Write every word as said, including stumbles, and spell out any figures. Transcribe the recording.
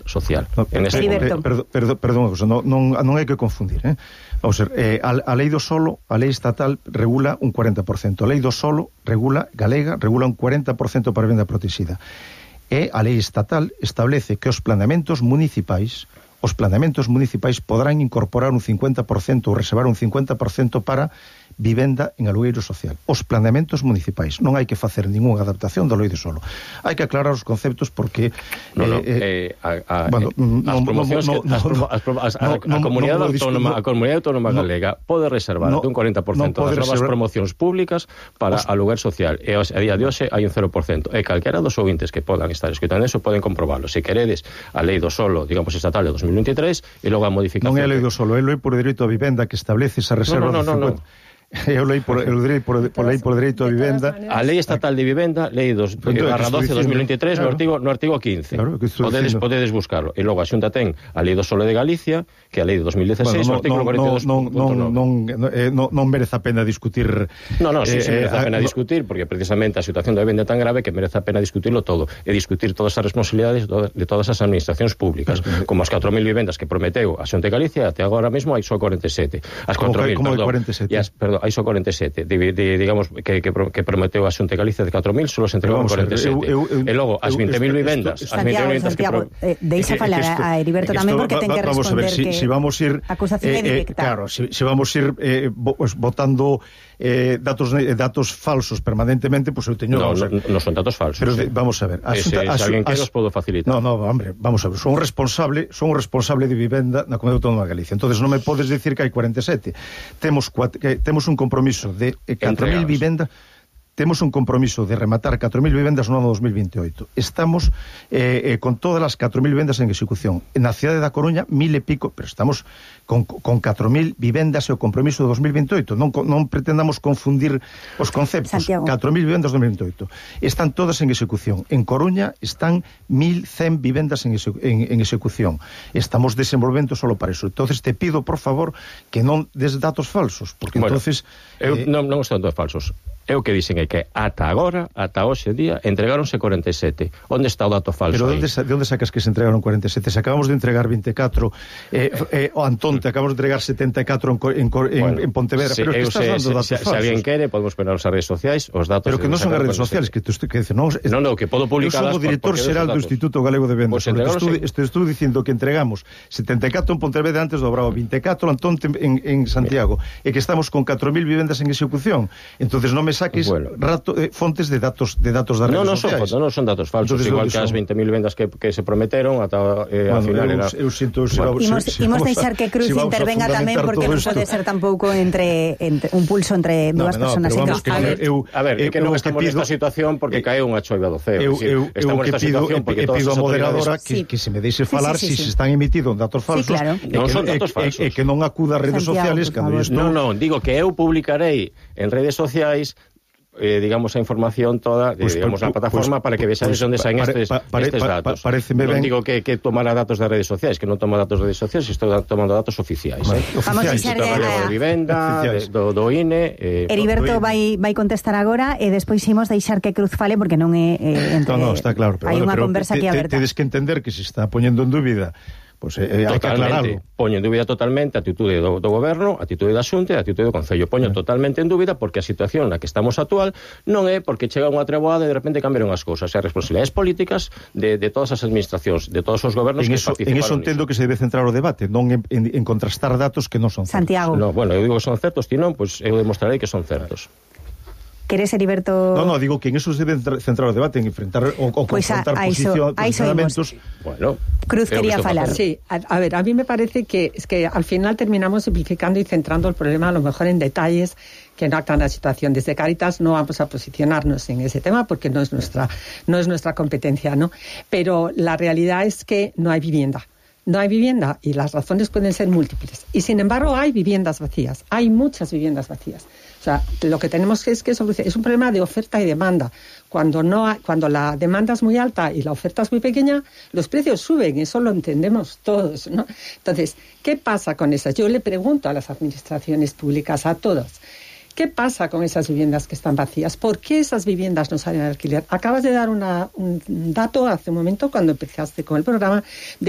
social. No, en este perdón, perdón, perdón, perdón, non, non, non hai que confundir, eh? Vamos a ver, eh, a, a lei do solo, a lei estatal regula un cuarenta por ciento, a lei do solo regula, galega, regula un cuarenta por ciento para a vivenda protegida. E a lei estatal establece que os planeamentos municipais os planeamentos municipais poderán incorporar un cincuenta por ciento ou reservar un cincuenta por ciento para vivenda en alugueiro social. Os planeamentos municipais. Non hai que facer ninguna adaptación do lei de solo. Hai que aclarar os conceptos porque... No, no, eh, eh, a, a, bueno, as promocións no, no, no, as, as, a, no, a, comunidade no, autónoma, no, a comunidade autónoma no, galega pode reservar no, un cuarenta por ciento no das novas reservar... promocións públicas para os... aluguer social. E a día de hoxe hai un cero por ciento. E calquera dos ouvintes que podan estar escutando eso poden comprobarlo. Se queredes a lei do solo, digamos, estatal de dos mil veintitrés e logo a modificación... Non é a lei do solo, é a lei por dereito a vivenda que establece esa reserva no, no, no, do cincuenta... No, no. Eu leí por, eu leí por, por lei por dereito a vivenda. A lei estatal de vivenda, lei dos barra doce dos mil veintitrés, claro. no artigo no artigo quince. Claro, podedes podedes buscarlo. E logo a Xunta ten a lei do solo de Galicia, que é a lei de dos mil dieciséis, bueno, no, no, artículo cuarenta e dous punto nove. Non non non eh, non non merece a pena discutir. No, no, sí, eh, sí merece a pena eh, discutir, porque precisamente a situación da vivenda é tan grave que merece a pena discutirlo todo e discutir todas as responsabilidades de todas as administracións públicas, claro, como as catro mil vivendas que prometeu a Xunta de Galicia, até agora mesmo hai só cuarenta e sete. As catro mil, perdón. cuarenta e sete? As, perdón, hai só cuarenta e sete. De, de, digamos, que, que, que prometeu a Xunta de Galicia de catro mil, solo se entregou cuarenta e sete. Eu, eu, eu, e logo, as vinte mil vivendas... As Santiago, as Santiago, que pro... eh, deixa falar esto, a Heriberto tamén, porque ten que responder vamos a ver, si, que si vamos ir, acusación é eh, directa. Claro, si, si vamos ir eh, pues, votando eh, datos eh, datos falsos permanentemente, pues eu teño... No, no, no, no son datos falsos. Pero de, vamos a ver... A Ese, xunta, se alguén quere, os podo facilitar. No, no, hombre, vamos a ver, son un responsable, son un responsable de vivenda na Comunidade Autónoma de Galicia. Entonces non me podes decir que hai cuarenta e sete. Temos, que, temos un compromiso de eh, catro mil vivendas... Temos un compromiso de rematar catro mil vivendas no ano dos mil veintioito. Estamos eh, eh, con todas as catro mil vivendas en execución. Na cidade da Coruña, mil e pico, pero estamos con, con catro mil vivendas e o compromiso de dos mil veintioito. Non, non pretendamos confundir os conceptos. Santiago. catro mil vivendas dos mil veintioito. Están todas en execución. En Coruña están mil cen vivendas en, exe, en, en execución. Estamos desenvolvendo solo para eso. Entonces te pido, por favor, que non des datos falsos, porque bueno, entonces... Eu Eh, non, non estou datos falsos. É o que dicen é que ata agora, ata hoxe día, entregáronse cuarenta e sete. Onde está o dato falso? Pero onde, de onde sacas que se entregaron cuarenta e sete? Se acabamos de entregar vinte e catro, eh, eh, o Antón, te acabamos de entregar setenta e catro en, en, en, bueno, en Pontevedra, se, pero que estás se, dando datos se, falsos. Se alguén quere, podemos poner nas redes sociais os datos... Pero que non son as redes sociais, que tú que dices, non, non, non, que podo publicalas... Eu son o director xeral do Instituto Galego de Vendas, pues estou, estou dicindo que entregamos setenta e catro en Pontevedra antes do Bravo, vinte e catro Antón en, en Santiago, e que estamos con catro mil vivendas en execución. Entonces non me saques bueno. rato, eh, fontes de datos de datos das redes no, no sociais. Non, non son datos falsos, entonces, igual que as vinte mil vendas que, que se prometeron ata eh, bueno, ao final eu, era... eu sinto... Se bueno, imos, si, imos deixar que Cruz si intervenga tamén, porque non pode ser tampouco entre, entre un pulso entre no, dúas no, persoas. No, vamos, que, a ver, eu, a ver, eu, que non eu estamos pido, nesta situación porque eh, caeu unha choiva do ceo. Eu, eu, eu que pido, porque eu pido a moderadora que, sí. que se me deixe falar sí, sí, sí, si sí. se están emitidos datos falsos, sí, claro. e, non que, son datos e, falsos. E, e que non acuda a redes Santiago, sociales cando eu estou... Non, non, digo que eu publicarei en redes sociais eh, digamos, a información toda, pues, digamos, pues, na plataforma pues, para que vexades pues, onde saen pare, estes, pare, estes datos. Pa, pa, non ben... digo que, que tomara datos das redes sociais, que non toma datos das redes sociais, estou tomando datos oficiais. Vale, eh? Vamos a deixar de, de vivenda, de, do, do I N E... Eh, Heriberto vai, vai contestar agora e despois imos deixar que Cruz fale porque non é... Eh, entre, no, no, está claro, pero, hai bueno, unha pero conversa te, aquí aberta. Tedes que entender que se está poñendo en dúbida. Pois pues, eh, hai que aclararlo. Poño en dúbida totalmente a atitude do, do goberno, a atitude da Xunta e a atitude do Concello. Poño yeah. totalmente en dúbida porque a situación na que estamos actual non é porque chega unha treboada e de repente cambiaron as cousas. As responsabilidades políticas de, de todas as administracións, de todos os gobernos en que eso, participaron. En eso entendo que se debe centrar o debate, non en, en, en contrastar datos que non son certos. Santiago. No, bueno, eu digo que son certos, ti non, pois pues eu demostrarei que son certos. Queres, Heriberto? No, no, digo que en eso se debe centrar o debate, en enfrentar o, o pues confrontar a, a posición, eso, posicionamentos. Bueno, Cruz quería falar. Sí, a, a ver, a mí me parece que es que al final terminamos simplificando y centrando el problema a lo mejor en detalles que no actan la situación. Desde Cáritas no vamos a posicionarnos en ese tema porque no es nuestra, no es nuestra competencia, ¿no? Pero la realidad es que no hay vivienda. No hay vivienda y las razones pueden ser múltiples. Y sin embargo hay viviendas vacías, hay muchas viviendas vacías. O sea, lo que tenemos que es que solucionar es un problema de oferta y demanda. Cuando no hay, cuando la demanda es muy alta y la oferta es muy pequeña, los precios suben, eso lo entendemos todos, ¿no? Entonces, ¿qué pasa con esas? Yo le pregunto a las administraciones públicas, a todas, ¿Qué pasa con esas viviendas que están vacías? ¿Por qué esas viviendas no salen al alquiler? Acabas de dar una, un dato hace un momento cuando empezaste con el programa de